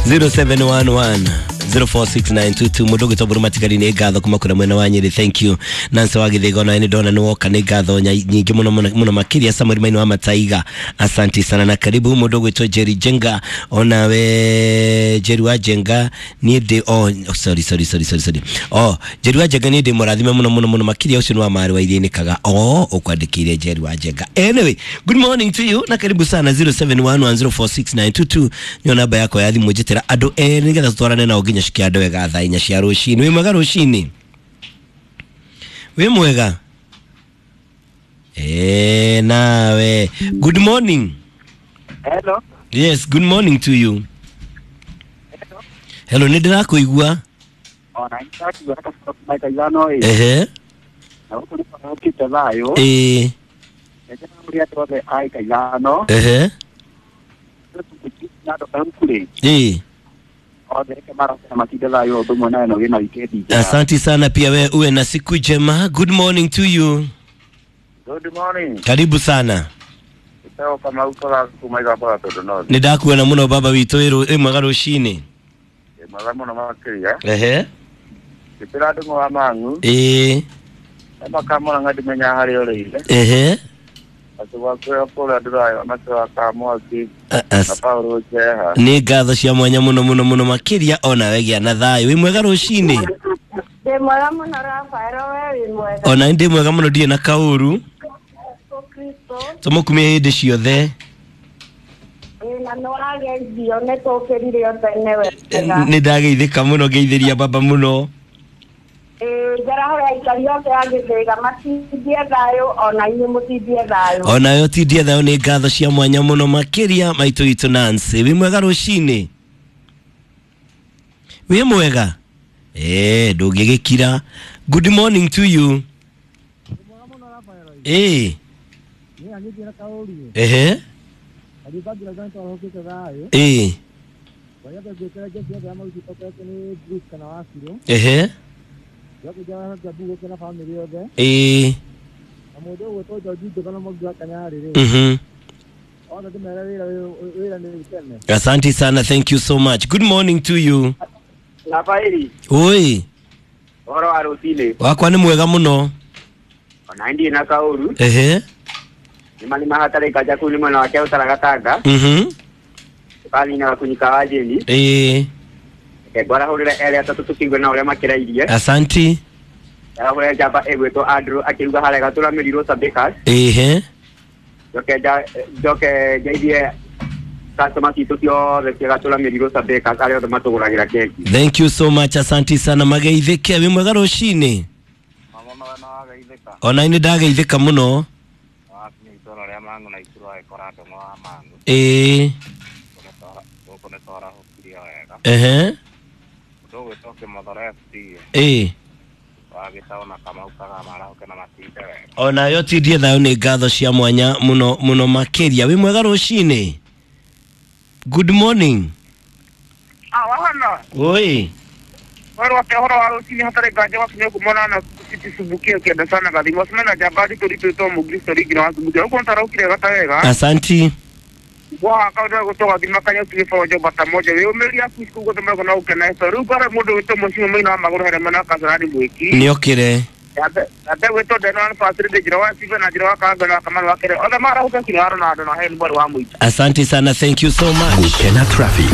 0711 046922 mundu gwitwo Mburu Matigari nĩ ngatho kuma kũrĩa mwena wa Nyĩrĩ. Thank you. Nancy wa Gĩthĩgo nawe nĩ ndona nĩ woka, nĩ ngatho nyingĩ mũno mũno mũno makĩria. Samuel Maina wa Mataiga, asanti sana na karibu. Mundu gwitwo Jerry Jenga, onawe Jerry wa Jenga, niĩ ndĩ, oh sorry, sorry, sorry, sorry, sorry, oh Jerry wa Jenga, niĩ ndĩ mũrathime mũno mũno mũno makĩria. Ũcio nĩ wa marĩ wa iria-inĩ kaga oh ũkwandĩkĩire Jerry wa Jenga. Anyway, good morning to you na karibu sana. 0711046922 nĩyo namba yakwa ya thimũ, njĩtĩra andũ erĩ nĩgetha tũtwarane nao nginya cikia andũ wega thaa 4 cia rũcinĩ. Wĩ mwega rũcinĩ? Wĩ mwega? Nawe good morning. Hello. Yes, good morning to you. Hello, nĩ ndĩrakũigua. Ona nĩndakigua maita ithano ĩ. Ehe. Na gũkũ nĩ kũhokĩte thayũ. Ĩĩ. Reke mũrĩ andũ othe a ika ithano. Ehe. Na andũ a Ĩĩ. Othe reke maroke na matinde thayũ ũndũ ũmwe nawe na ũgĩe na wikendi njega. Asante sana, pia we uwe na siku njema. Good morning to you. Good morning. Karibu sana. Ĩtagwo Kamau Kola kuma Igambora Tondũ North. Nĩ ndakuona mũno baba witũ, wĩ mwega rũcinĩ? Ĩ mwega mũno makĩria. Ehe. Ngĩtĩra ndũng'ũ wa Mang'u. Ĩĩ. Makamũra ndimenya harĩa ũrĩire. Ehe. Atĩ gwakwĩra kũrĩa ndũrayo na wa Mwaki na Paul Njeha. Nĩ ngatho cia mwanya mũno mũno mũno makĩria, onawe gĩa na thayũ. Wĩ mwega rũcinĩ? Ndĩ mwega mũno Rafaelo, we wĩ mwega? Ona ndĩ mwega mũno, ndirĩ na kaũru. Kristo. Tũmũkumie hĩndĩ ciothe. Ĩ, na nĩ wageithio, nĩ tũkĩrire o tene wega. Nĩ ndageithĩka mũno, ngeithĩria baba mũno. Ĩ, njarahũre aikari othe a Gĩthĩga matindie thayũ, ona inyuĩ mũtindie thayũ. Onawe ũtindie thayũ. Nĩ ngatho cia mwanya mũno makĩria, maitũ witũ Nancy. Wĩ mwega rũcinĩ? Wĩ mwega? Ndũngĩgĩkira. Good morning to you. Ĩĩ. Ehe. Ĩĩ. Ehe. Ĩĩ. Asante sana, thank you so much. Good morning to you. Rafaeli. Oi. Ũhoro wa rũcinĩ? Wakwa nĩ mwega mũno. Ona ndirĩ na kaũru. Ehe. Nĩma nĩ mahatarĩ kanja kũu nĩ mwena wake ũtaragatanga. Tũkathina gakunyika wa jeni. Ĩĩ. Reke ngwarahũrĩre erĩ atatũ tũkĩigue na ũrĩa makĩrairie. Asanti. Njarahũre njamba ĩgwĩtwo Andrew akĩruga harĩa Gatũra Mĩrirũ Sabicas. Ehe. Njoke ngeithie customer citũ ciothe cia Gatũra Mĩrirũ Sabicas arĩa othe matũgũragĩra keki. Thank you so much, asanti sana, mageithĩke. Wĩ mwega rũcinĩ? Mama we no wageithĩka. Ona nĩ ndageithĩka mũno. Wakinya itũra rĩa Mang'u na Ikuru agĩkora ndũng'ũ wa Mang'u. Ĩĩ. Gũkũ nĩ twarahũkirie wega. Ehe. Mũndũ ũgwĩtwo Kĩmothoro FC. Ĩĩ. Wagĩtawo na Kamau Kaga marahũke na matinde wega. Onawe ũtindie thayũ. Nĩ ngatho cia mwanya mũno mũno makĩria. Wĩ mwega rũcinĩ? Good morning. Wahana. Oi. Wero wake ũhoro wa rũcinĩ, hatarĩ nganja wakinya kumona na citicubukie kĩenda sana gathimo cimena njamba nditũ ritũ mũkristo ringi na wacubukia ũguo ntarokire gata wega. Asanti. Wahaka ũndũ gũtwo gathima kanya ũtige bonjo bata moja wĩũmĩria aku ciku guothe mego na ũkena so rĩu ngore mũndũ wĩtwo mũciĩ mũina wa magũrũ harĩa mwena wa Kasarani mwĩki. Nĩokĩre. Yambe gwĩtwo Deno na Facility njĩra wa Steven na njĩra wa Kanga na Kamau wa Kere othe marahũka kinya wa Ronaldo na Helen Mwarĩ wa mũingĩ. Asante sana, thank you so much. Gukena traffic.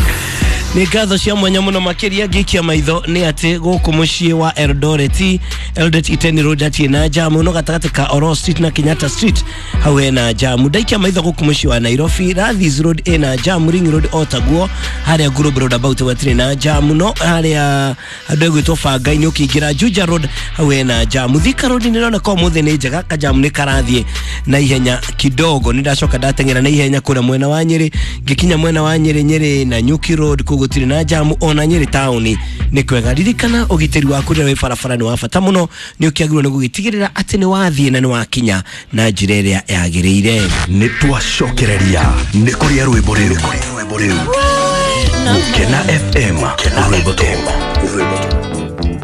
Nĩ ngatho cia mwanya mũno makĩria. Ngĩikia maitho nĩ atĩ gũkũ mũciĩ wa Eldoret, Eldoret Iten Road hatirĩ na jamu, no gatagatĩ ka Oro Street na Kenyatta Street hau hena jamu. Ndaikia maitho gũkũ mũciĩ wa Nairobi, Rathis Road ĩna jamu, Ring Road o taguo, harĩa Global Roundabout hatirĩ na jamu, no harĩa handũ ĩgwĩtwo Banga-inĩ ũkĩingĩra Juja Road hau hena jamu. Thika Road nĩ ĩroneka ũmũthĩ nĩ njega, kajamu nĩ karathiĩ na ihenya kidogo. Nĩ ndacoka ndateng'era na ihenya kũrĩa mwena wa Nyĩrĩ, ngĩkinya mwena wa Nyĩrĩ, Nyĩrĩ na Nyuki Road kũu gũtirĩ na jamu, ona Nyĩrĩ taũni nĩ kwega. Ririkana ũgitĩri waku rĩrĩa wĩ barabara nĩ wa bata mũno, nĩ ũkĩagĩrĩirwo nĩ gũgĩtigĩrĩra atĩ nĩ wathiĩ na nĩ wakinya na njĩra ĩrĩa yagĩrĩire. Nĩ twacokereria nĩ kũrĩa rwĩmbo rĩu. Gukena FM, rwĩmbo.